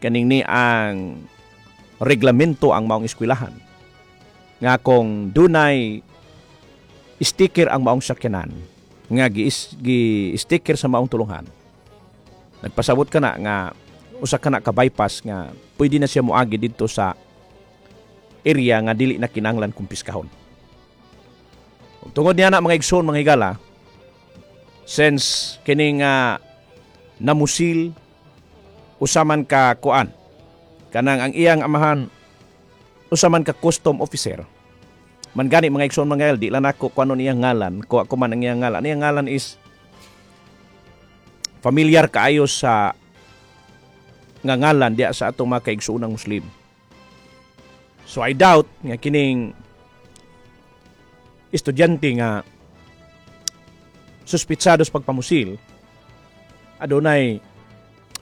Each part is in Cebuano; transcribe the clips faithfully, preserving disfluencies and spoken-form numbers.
Kaning ni ang reglamento ang maong eskwelahan nga kung dunay sticker ang maong sakyanan nga gi, gi sticker sa maong tulunghan, nagpasabot ka na nga usa ka na ka bypass nga pwede na siya moagi didto sa area nga dili na kinahanglan kumpiskahon. Ug tungod niya na, mga igsoon, mga higala, since kining uh, namusil usa man ka kuan, kanang ang iyang amahan usa man ka custom officer man gani, mga igsoon, mga higala, di lang nako kuanon iyang ngalan ko ako man ang iyang ngalan. Iyang ngalan is familiar kaayo sa nga ngalan diya sa atong mga kaigsuonang Muslim. So I doubt nga kining estudyante nga suspitsado sa pagpamusil adunay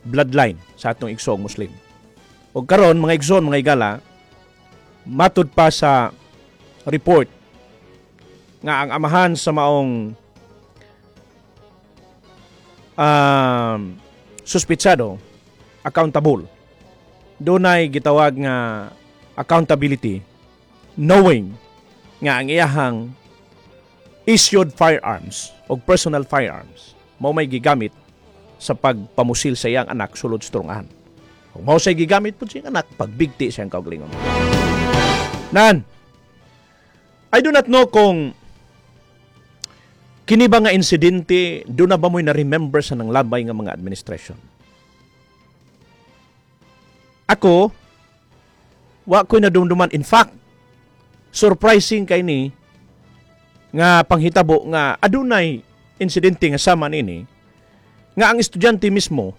bloodline sa atong igsoong Muslim. Og karon, mga igsoon, mga higala, matud pa sa report nga ang amahan sa maong um, suspitsado accountable. Dunay gitawag nga accountability knowing nga ang iyahang issued firearms o personal firearms mao may gigamit sa pagpamusil sa iyang anak sulod sa tulungan. Kung mao say gigamit pud sa iyang anak pagbigti sa iyang kaugalingon. Nan, I do not know kung kini ba nga insidente do na ba mo'y na-remember sa nanglabay nga mga administration. Ako, wa ko'y nadumduman. In fact, surprising kay ni nga panghitabo nga adunay insidente nga sama nini nga ang estudyante mismo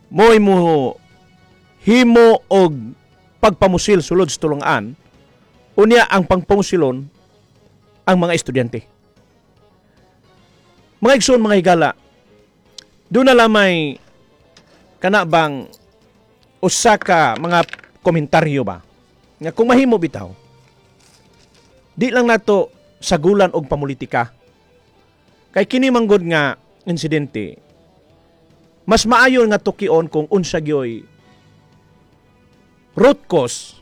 mo'y mo himo og pagpamusil sulod sa tulungan, unya ang pangpamusilon ang mga estudyante. Mga igsoon, mga higala, doon na lamay kana bang usa ka mga komentaryo ba nga kung mahimo bitaw, di lang nato sagulan og pamulitika kay kini manggod nga insidente, mas maayo nga tukion kung unsa gyoy root cause,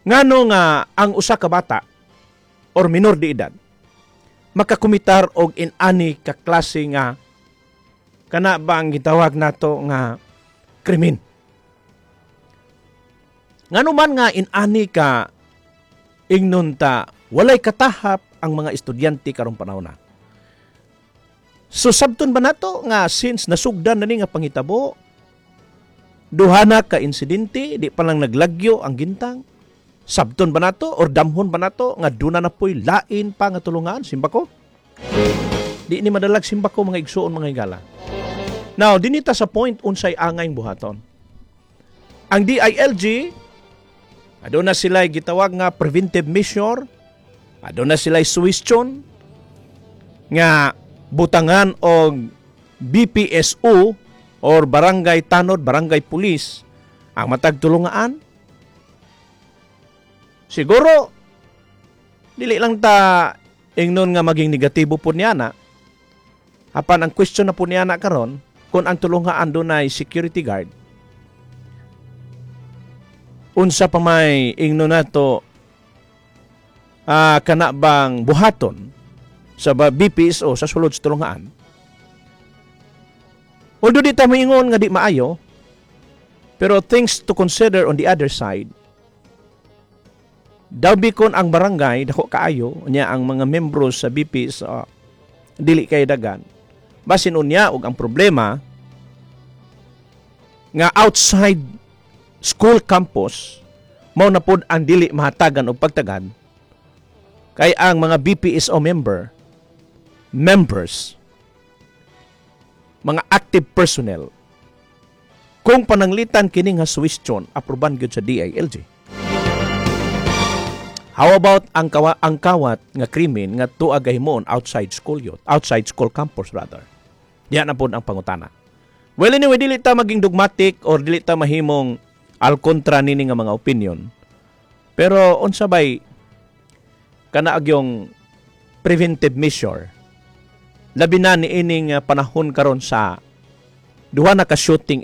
ngano nga ang usa ka bata or minor de edad makakumitar og inani ka klase nga kana ba ang gitawag nato nga krimen. Ngano man nga inani ka ingnon ta walay katahap ang mga estudyante karong panahon na. So sabton ba nato nga since nasugdan na ni nga panghitabo, duha na ka insidente, di pa lang naglagyo ang gintang, sabton ba nato or damhon ba nato nga duna na po'y lain pa nga tulungan, simbako? Di ni madalag simbako, mga igsuon, mga higala. Now, dinita sa point unsay angay buhaton. Ang D I L G, aduna sila gitawag nga preventive measure, aduna sila suggestion nga butangan og B P S O or barangay tanod, barangay police ang matag tulungaan. Siguro dili lang ta ingnon nga maging negatibo po niya na. Apan ang question na po niya na karon, kung ang tulungaan dunay security guard, unsa pa may ingnon nato ah, kana bang buhaton sa ba- B P S O sa sulod sa tulungaan? Although di ta maingon nga di maayo, pero things to consider on the other side, daw bikon ang barangay dako kaayo nya ang mga membro sa B P S O dili kay dagan. Basin unya og ang problema nga outside school campus mao na pod ang dili mahatagan og pagtagad kay ang mga B P S O member members, mga active personnel, kung pananglitan kini nga suggestion aproban gyud sa D I L G. How about ang kawa, ang kawat nga krimen nga tuag gahimon outside school yun, outside school campus rather? Diya na pod ang pangutana. Well, anyway, dili ta maging dogmatic or dili ta mahimong al kontra nini nga mga opinion. Pero unsa bay kana agyong preventive measure, labi na ni ining uh, panahon karon sa duha na ka shooting?